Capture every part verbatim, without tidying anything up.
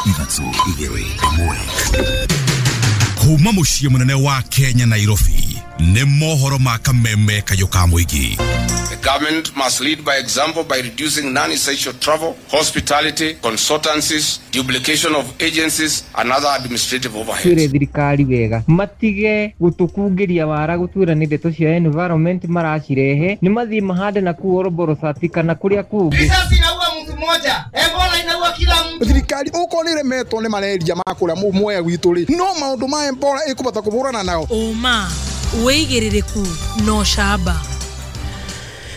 Ithatũ, igĩrĩ, ĩmwe. Kuma mũciĩ mũnene wa Kenya, Nairobi, nĩ mohoro ma Kameme kayũ ka mũingĩ. The government must lead by example by reducing non-essential travel, hospitality, consultancies, duplication of agencies and other administrative overheads. Twĩre thirikari wega matige gũtũkungĩria wara gũtwĩra nĩ ndeto cia environment maracirehe, nĩ mathiĩ mahande na kũu Oroborosati kana kũrĩa kũngĩ. Risasi inaua mtu mmoja, Ebola inaua kila mtu. Thirikari okorwo nĩ ĩremetwo nĩ malaria ma kũrĩa Mwea gwitũ rĩ, no maũndũ ma Ebola ĩkũbota kũhũrana nao. Ũma wĩigĩrĩrĩku no camba.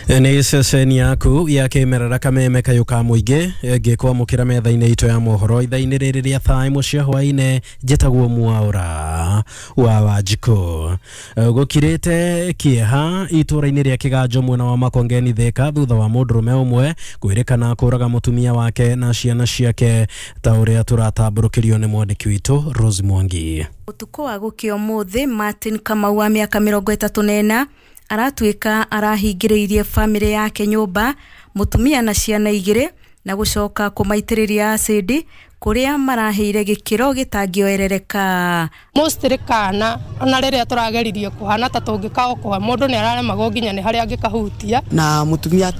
Nĩ ceceni yaku ya kĩmerera Kameme kayũ ka mũingĩ ngĩkwamũkĩra metha-inĩ itũ ya mohoro ithaa-inĩ rĩrĩ rĩa thaa ĩmwe cia hwaĩ-inĩ. Njĩtagwo Mwaũra wa Wanjikũ. Gũkirĩte kĩeha itũũra-inĩ rĩa Kĩganjo mwena wa Makongeni Thĩka thutha wa mũndũrũme ũmwe kwĩrĩkana kũraga mũtumia wake na ciana ciake, ta ũrĩa tũratambũrũkĩrio nĩ mwandĩki witũ Rose Mwangi. Ũtukũ wa gũkĩa ũmũthĩ, Martin Kamau wa mĩaka mĩrongo ĩtatũ na ĩna aratuĩka arahingĩrĩirie bamĩrĩ yake nyũmba, mũtumia na ciana igĩrĩ, na gũcoka kũmaitĩrĩria acidi kũrĩa marahĩire gĩkĩro gĩtangĩoerereka. Mostly kana ona rĩrĩa tũrageririe kũhana ta tũngĩkaokoa mũndũ nĩ araremagwo nginya nĩ harĩa angĩkahutia. Na mũtumia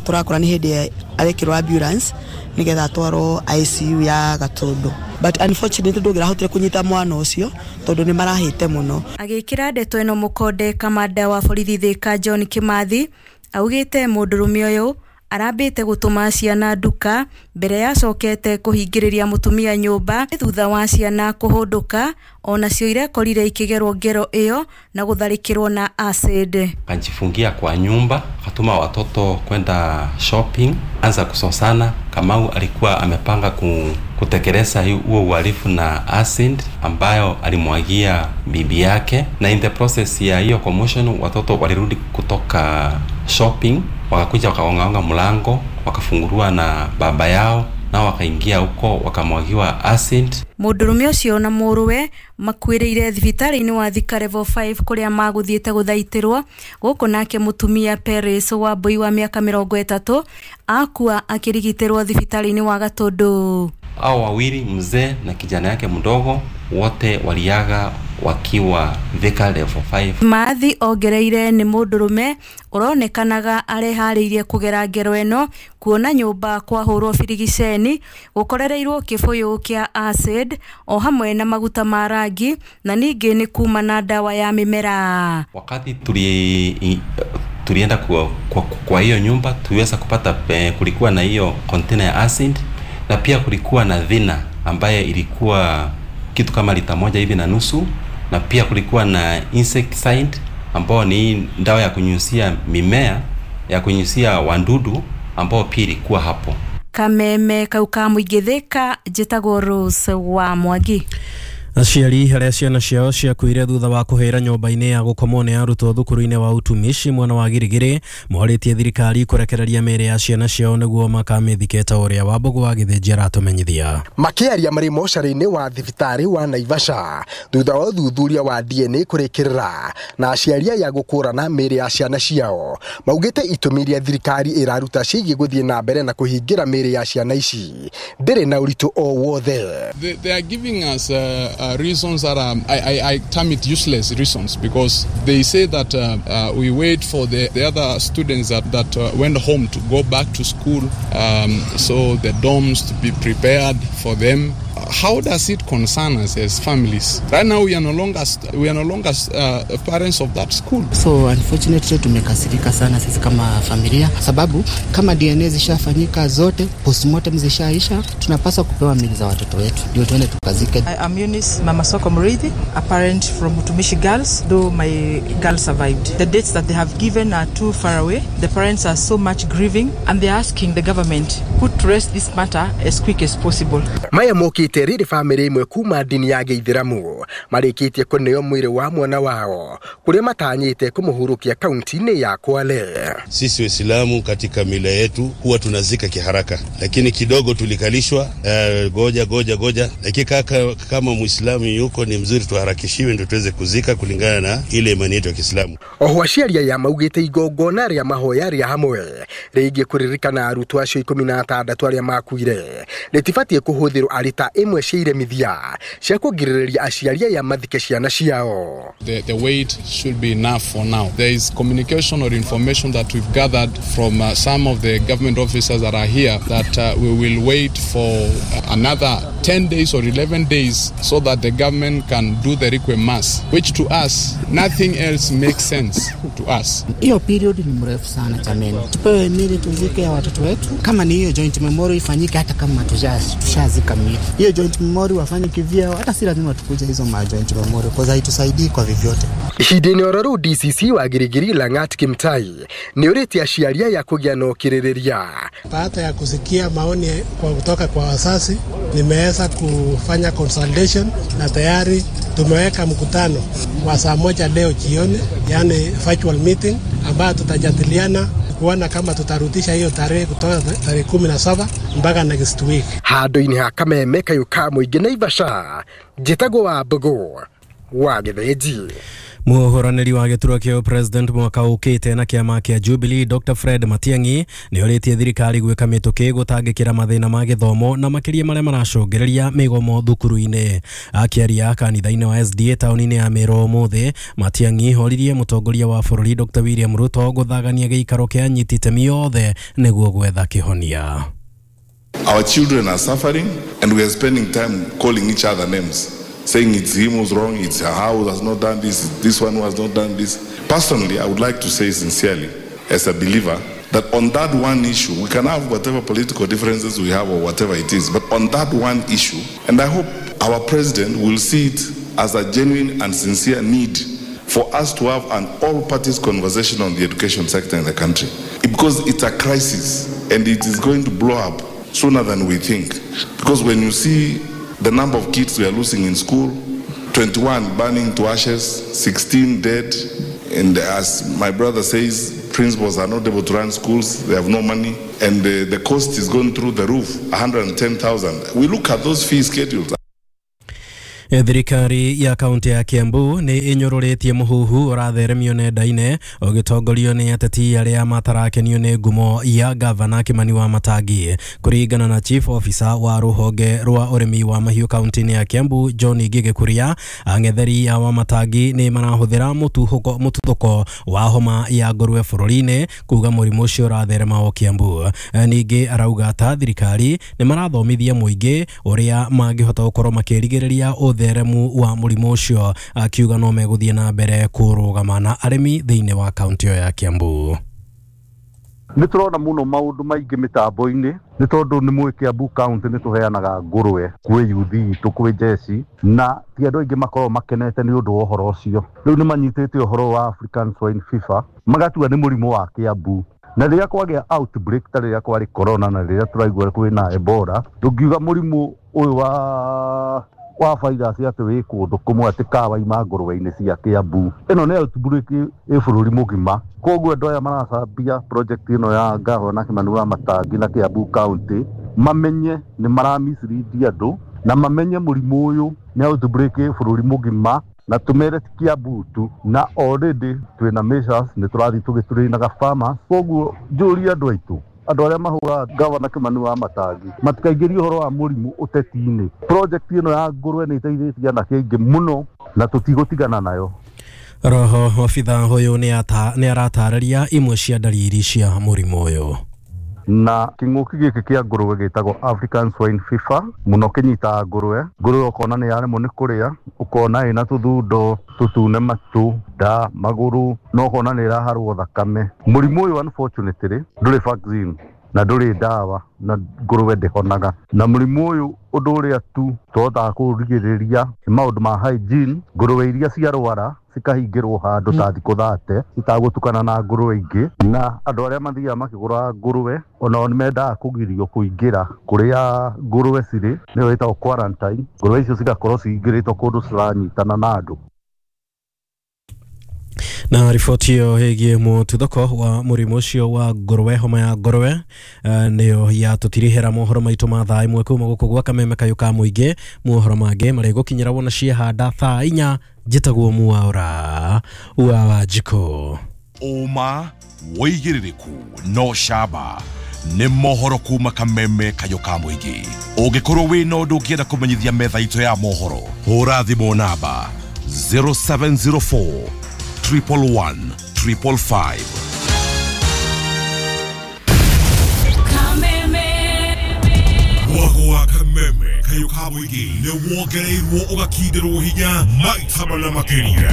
tũrakora nĩ hĩndĩ arekĩrwo ambulance nĩgetha atwarwo I C U ya Gatũndũ, but unfortunately ndũngĩrahotire kũnyita mwana ũcio tondũ nĩ marahĩte mũno. Agĩkĩra ndeto ĩno mũkonde, kamanda wa borithi Thĩka John Kĩmathi augĩte mũndũrũme ũyũ arambĩte gũtũma ciana nduka mbere yacokete kũhingĩrĩria mũtumia nyũmba thutha wa ciana kũhũndũka, onacio irekorire ikĩgerwo ngero ĩyo na gũtharĩkĩrwo na acid. Kanjifungia kwa nyumba, akatuma watoto kwenda shopping, anza kusosana. Kamau alikuwa amepanga ku, kutekeleza huo uhalifu na acid ambayo alimwagia bibi yake, na in the process ya hiyo commotion watoto walirudi kutoka shopping, wakakuja wakaongaonga mlango, wakafungurua na baba yao na wakaingia huko wakamwagiwa acid. Mũndũrũme ũcio na mũrũwe makuĩrĩire thibitarĩ-inĩ wa Thika Level five kũrĩa magũthiĩte gũthaitĩrwo. Gũkũ nake mũtumia Paris Wambui wa mĩaka mĩrongo ĩtatũ akua akĩrigitĩrwo thibitarĩ-inĩ wa Gatũndũ. Hao wawili, mzee na kijana yake mdogo, wote waliaga wakiwa Thika Level five. Mathi ongereire nĩ mũndũrũme ũronekanaga areharĩirie kũgera ngero ĩno kuona nyũmba kwahũrwo birigiceni gũkorereirwo kĩbũyũ kĩa acid o hamwe na maguta ma rangi na ningĩ nĩ kuma na ndawa ya mĩmera. Wakati tuli tulienda kwa, kwa, kwa hiyo nyumba tuliweza kupata pe, kulikuwa na hiyo container ya acid na pia kulikuwa na dhina ambaye ilikuwa kitu kama lita moja hivi na nusu, na pia kulikuwa na insecticide ambao ni dawa ya kunyunyizia mimea, ya kunyunyizia wadudu ambao pia ilikuwa hapo. Kameme kauka mũingĩ Thĩka, njĩtagwo Rose wa Mwangi. Aciari arĩa ciana ciao ciakuire thutha wa kũhĩra nyũmba-inĩ ya gũkomwo nĩ arutwo thukuru-inĩ wa utumishi mwena wa Girigiri morĩtie thirikari kũrekereria mĩĩrĩ ya ciana ciao nĩguo makamĩthike ta ũrĩa Wambũgũ wa Gĩthĩnji aratũmenyithia. Makĩaria marĩ mocarĩ-inĩ wa thibitarĩ wa Naivasha thutha wa ũthuthuria wa D N A kũrĩkĩrĩra na aciari aya gũkũrana mĩĩrĩ ya ciana ciao, maugĩte itũmi iria thirikari ĩraruta ciĩgiĩ gũthiĩ na mbere na kũhingĩra mĩĩrĩ ya ciana ici ndĩrĩ na ũritũ o wothe. They, they are giving us uh, uh, reasons that um, I, I, I term it useless reasons, because they say that uh, uh, we wait for the, the other students that, that uh, went home to go back to school, um, so the dorms to be prepared for them. How does it concern us as families? Right now we are no longer, we are no longer uh, parents of that school. So unfortunately tumekasirika sana sisi kama familia, sababu kama D N A zishafanyika zote, postmortem zishaisha, tunapaswa kupewa miili za watoto wetu ndio tuende tukazike. I am Eunice Mamasoko Murithi, a parent from Utumishi Girls, though my girl survived. The dates that they have given are too far away. The parents are so much grieving and they are asking the government put to rest this matter as quick as possible. Maya mokite rĩrĩ bamĩrĩ ĩmwe kuma ndini ya Gĩithĩramu marĩkĩtie kũneo mwĩrĩ wa mwana wao kũrĩa matanyĩte kũmũhurũkia kaunti-inĩ ya Kwale. Sisi Waislamu katika mila yetu huwa tunazika kiharaka, lakini kidogo tulikalishwa eh, goja goja goja, lakini kaka kama Muislamu yuko ni mzuri tuharakishiwe ndio tuweze kuzika kulingana na ile imani yetu ya Kiislamu. Oho aciari aya maugĩte igongona rĩa mahoya rĩa hamwe Rĩgiĩ kũririkana arutwo acio ikũmi na atandatũ arĩa makuire rĩtibatiĩ kũhũthĩrwo arĩ ta ĩmwe cia iremithia cia kũgirĩrĩria aciari aya mathike ciana ciao. The, the wait should be enough for now. There is communication or information that we've gathered from uh, some of the government officers that are here that uh, we will wait for another ten days or eleven days so that the government can do the requiem mass, which to us, nothing else makes sense to us. Hiyo period ni mrefu sana jameni. Tupewe mili tuzike ya watoto wetu. Kama ni hiyo joint memorial ifanyike hata kama tushazika mili. Hiyo joint memorial wafanye kivyao, hata si lazima tukuje hizo ma joint memorial kwa haitusaidii kwa vyovyote. Ihinda-inĩ oro rĩu D C C wa Girigiri Lang'at Kimtai nĩ ũrĩtie aciari aya kũgĩa na ũkirĩrĩria. Baada ya kusikia maoni kwa kutoka kwa wazazi, nimeweza kufanya consultation na tayari tumeweka mkutano wa saa moja leo jioni, yani virtual meeting, ambayo tutajadiliana kuona kama tutarudisha hiyo tarehe kutoka tarehe kumi na saba mpaka next week. Handũ-inĩ ha Kameme kayũ ka mũingĩ Naivasha, njĩtagwo wa Mbogo wa Gĩthĩnji. Mũhũranĩri wa gĩturwa kĩa president mwaka ũkĩte na kĩama kĩa Jubilee Doctor Fred Matiang'i nĩ orĩtie thirikari gwĩka mĩtũkĩ gũtangĩkĩra mathĩna ma gĩthomo na makĩria marĩa maracũngĩrĩria mĩgomo thukuru-inĩ. Akĩaria kanitha-inĩ wa S D A taũni-inĩ ya Meru ũmũthĩ, Matiang'i oririe mũtongoria wa bũrũri Doctor William Ruto gũthagania gĩikaro kĩa anyiti itemi othe nĩguo gwetha kĩhonia. Our children are suffering and we are spending time calling each other names, saying it's him who's wrong, it's her who has not done this, this one who has not done this. Personally, I would like to say sincerely, as a believer, that on that one issue, we can have whatever political differences we have or whatever it is, but on that one issue, and I hope our president will see it as a genuine and sincere need for us to have an all-parties conversation on the education sector in the country. Because it's a crisis and it is going to blow up sooner than we think. Because when you see the number of kids we are losing in school, twenty-one burning to ashes, sixteen dead, and as my brother says, principals are not able to run schools, they have no money, and the, the cost is going through the roof, one hundred ten thousand. We look at those fee schedules. Thirikari ya kaunti ya Kiambu nĩ ĩnyũrũrĩtie mũhuhu ũratheremio nenda-inĩ ũgĩtongorio nĩ ateti arĩa matarakenio nĩ ngumo ya gavana Kimani wa Matangi. Kũringana na chief officer wa rũhonge rwa ũrĩmi wa mahiũ kaunti-inĩ ya Kiambu John Ngige Kuria, ang'etheri a Wamatangi nĩ marahũthĩra mũtuthũko wa homa ya ngũrwe bũrũri-inĩ kuga mũrimũ ũcio ũratherema o Kiambu. Ningĩ arauga ta thirikari nĩ marathomithia mũingĩ ũrĩa mangĩhota gũkorwo makĩrigĩrĩria ũtheremu wa mũrimũ ũcio, akiuga no megũthiĩ na mbere kũrũgama na arĩmi thĩinĩ wa kaunti ya Kiambu. Nĩ tũrona mũno maũndũ maingĩ mĩtambo-inĩ nĩ tondũ nĩ mũĩ Kiambu county nĩ tũheanaga ngũrwe kwĩ yuthi itũ kwĩ jeshi, na ti andũ aingĩ makoragwo makenete nĩ ũndũ wa ũhoro ũcio. Rĩu nĩ manyitĩte ũhoro wa African Swine Fever magatua nĩ mũrimũ wa Kiambu, na rĩrĩa kwagĩa outbreak ta rĩrĩa kwarĩ corona na rĩrĩa tũraigua kwĩna Ebola, ndũngiuga mũrimũ ũyũ wa wa virus atĩ wĩ kũndũ kũmwe atĩ kawaima ngũrwe-inĩ cia Kiambu. Ĩno nĩ outbreak ĩ bũrũri mũgima. Koguo andũ aya maracambia project ĩno ya gavana Kimani wa Matangi na Kiambu county mamenye nĩ maramislead andũ na mamenye mũrimũ ũyũ nĩ outbreak ĩ bũrũri mũgima, na tumere ti Kiambu tu, na already twĩna measures nĩ tũrathiĩ tũgĩtũrĩinaga farmers. Koguo njũrie andũ aitũ, andũ arĩa mahũraga gavana Kimani wa Matangi matikaingĩrie ũhoro wa mũrimũ ũteti-inĩ. Project ĩno ya ngũrwe nĩ ĩteithĩtie anake aingĩ mũno na tũtigũtigana nayo. Roho obitha ũyũ nĩ aratarĩria imwe cia ndariri cia mũrimũ ũyũ. Na kĩng'ũki gĩkĩ kĩa ngũrwe gĩtagwo African Swine Fever mũno kĩnyitaga ngũrwe. Ngũrwe ũkona nĩ yaremwo nĩ kũrĩa, ũkona ĩna tũthundo tũtune matũ, nda, magũrũ, na ũkona nĩ ĩraharwo thakame. Mũrimũ ũyũ unfortunately ndũrĩ vaccine na ndũrĩ ndawa na ngũrwe ndĩhonaga. Na mũrimũ ũyũ ũndũ ũrĩa tu tũhotaga kũrigĩrĩria nĩ maũndũ ma hygiene. Ngũrwe iria ciarwara cikahingĩrwo handũ ta thikũ thate citagũtukana na ngũrwe ingĩ, na andũ arĩa mathiaga makĩgũraga ngũrwe onao nĩ mendaga kũgirio kũingĩra kũrĩa ngũrwe cirĩ, nĩyo ĩtagwo quarantine. Ngũrwe icio cigakorwo cihingĩrĩtwo kũndũ ciranyitana na andũ. Na riboti ĩyo ĩgiĩ mũtuthũko wa mũrimũ ũcio wa ngũrwe, homa ya ngũrwe, nĩyo yatũtirihĩra mohoro maitũ ma thaa ĩmwe kuma gũkũ gwa Kameme kayũ ka mũingĩ. Mohoro mangĩ marĩgũkinyĩra wona ciehanda thaa inya. Njĩtagwo Mwaũra wa Wanjikũ. Ũma, wĩigĩrĩrĩku no camba nĩ mohoro kuma Kameme Kayũ ka Mũingĩ. Ũngĩkorwo wĩna ũndũ ũngĩenda kũmenyithia metha itũ ya mohoro, hũra thimũ namba zero seven zero four triple one triple five. Mwago wa Kameme Kayũ ka Mũingĩ nĩ wongereirwo ũgakindĩrwo hinya maita mana makĩria.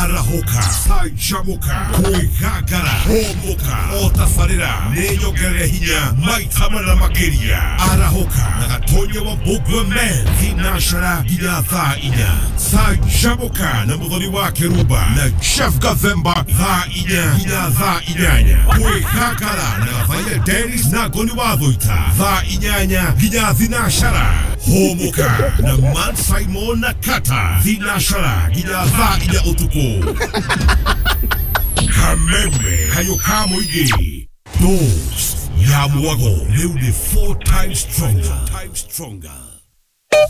Arahũka, canjamũka, kwĩgangara, hũmũka, o tabarĩra nĩ nyongerere hinya maita mana makĩria. Arahũka na Gatonya wa Mbũngua Men thinacara nginya thaa inya. Canjamũka na Mũthoni wa Kĩrumba na Jeff Gathemba thaa inya nginya thaa inyanya. Kwĩgangara na Gathaiya Dennis na Ngoni wa Thũita thaa inyanya nginya thinacara. Hũmũka na Man Simon na Kata thinacara nginya thaa inya ũtukũ. Kameme Kayũ ka Mũingĩ, dose ya mwago rĩu nĩ four times stronger.